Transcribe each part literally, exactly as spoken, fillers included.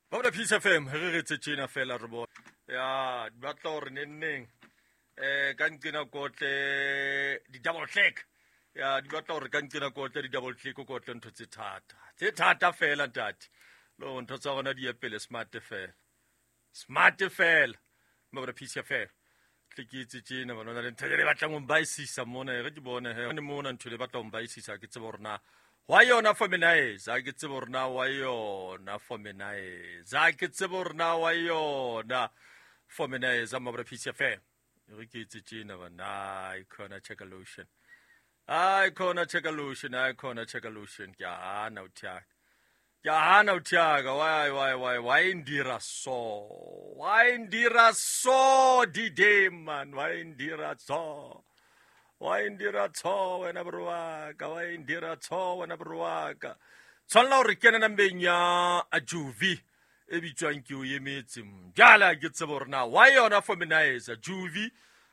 Ba Peace F M re re tse tjena fela re bona. Ya di batla hore nenneng eh ka nqena kotle di double click. Ya di batla hore ka nqena kotle di double click kotle ntho tse thata. Tse thata fela ntate. Lo ntho tsa rona di ye pele smart fela. Smart fela. Ba Peace F M. Tle ke tse tjena bana le ntho e batlang ho mbaisisa mona re ke bone he ne mona ntho le batla ho mbaisisa ke tsebe hore na wa yona feminize ke tsebe hore na wa yona feminize ke tsebe hore na wa yona feminize ma Peace F M re ke tse tjena bana i khona check a lotion I khona check a lotion I khona check a lotion ke hana o thiaka ke hana o thiaka why why why why indira so why indira so di day man why indira so why indira so wena bro ka why indira so wena bro ka tshwanela hore kena nambeng ya a Juvi e bitswang ke o emetse jala ke tsebe hore na why yona feminize Juvi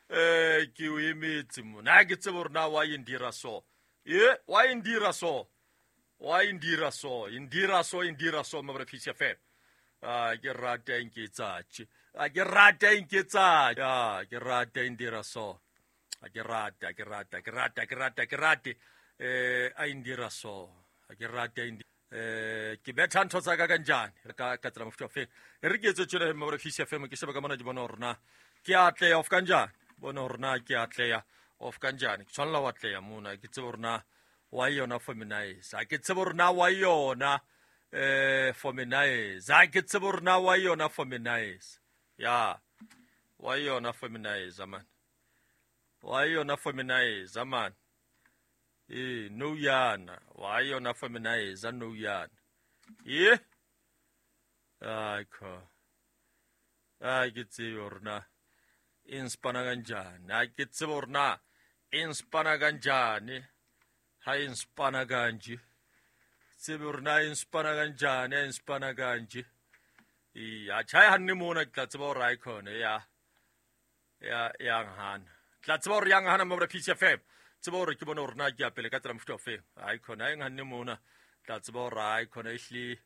eh ke o emetse mona ke tsebe hore na why indira so ye why indira so why indira so indira so indira so ma Peace F M ah ke rata nke tsatsi ah ke rata nke tsatsi ah ke rata indira so ah ke rata ke rata ke rata ke rata ke rata eh a indira so ah ke rata indi eh ke betha ntho tsa ka kanjani ka ka tsela mofuta fe re ke etse tjena ma Peace F M ke sheba ka mona di bona hore na ke atleya of kanjani bona hore na ke atleya of kanjani ke tshwanela wa atleya mona ke tsebe hore na wa yona feminize a ke tsebe hore na wa yona eh feminize a ke tsebe hore na wa yona feminize ya wa yona feminize man wa yona feminize man eh no yana wa yona feminize no yana ye ai ko ai ke tsebe hore na inspana kanjani a ke tsebe hore na inspana kanjani ha inspana kanje tsebe hore na inspana kanjani inspana kanje ya tjha hanne mona ke tla tseba hore ai khone ya ya ya ngana tla tseba hore ya ngana mo Peace F M tseba hore ke bone hore na ke ya pele ka tsela mofuta ofe ai khone ai nganne mona tla tseba hore ai khone ehle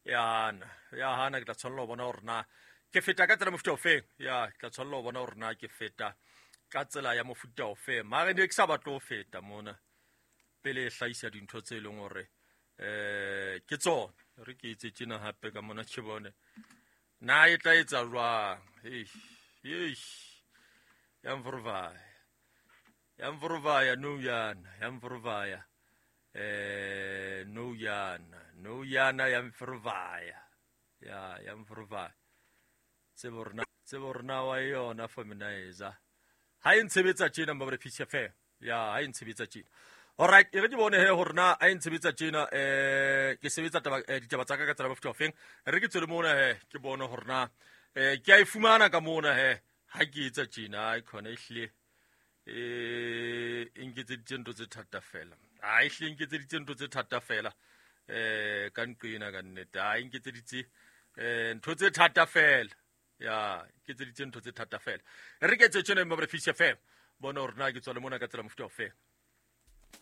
ya na ya hana ke tla tshwanela ho bona hore na ke feta ka tsela mofuta ofe ya ke tla tshwanela ho bona hore na ke feta ka tsela ya mofuta ofe mare ne ke sa batle ho feta mona pele e hlahisa dintho tse leng hore eh ke tsona re ke itse tjena hape ka mona ke bone na e tla etsa jwang eish eish ya mvuruvaya ya mvuruvaya no yana ya mvuruvaya eh no yana no yana ya mvuruvaya ya ya mvuruvaya tsebe hore na tsebe hore na wa yona feminize ha e ntshebetsa tjena ma Peace F M ya ha e ntshebetsa tjena. Alright, e re ke bone he hore na a ntshebetsa tjena eh ke sebetsa taba ditaba tsa ka ka tsela mofuta ofeng re ke tswele mona he ke bone hore na eh ke a e fumana ka mona he ha ke etsa tjena ai khona ehle eh e nketseditse ntho tse thata fela ai ehle nketseditse ntho tse thata fela eh ka nqena ka nnete ai nketseditse eh ntho tse thata fela ya nketseditse ntho tse thata fela re ke etse tjena ma Peace F M bona hore na ke tswale mona ka tsela mofuta ofe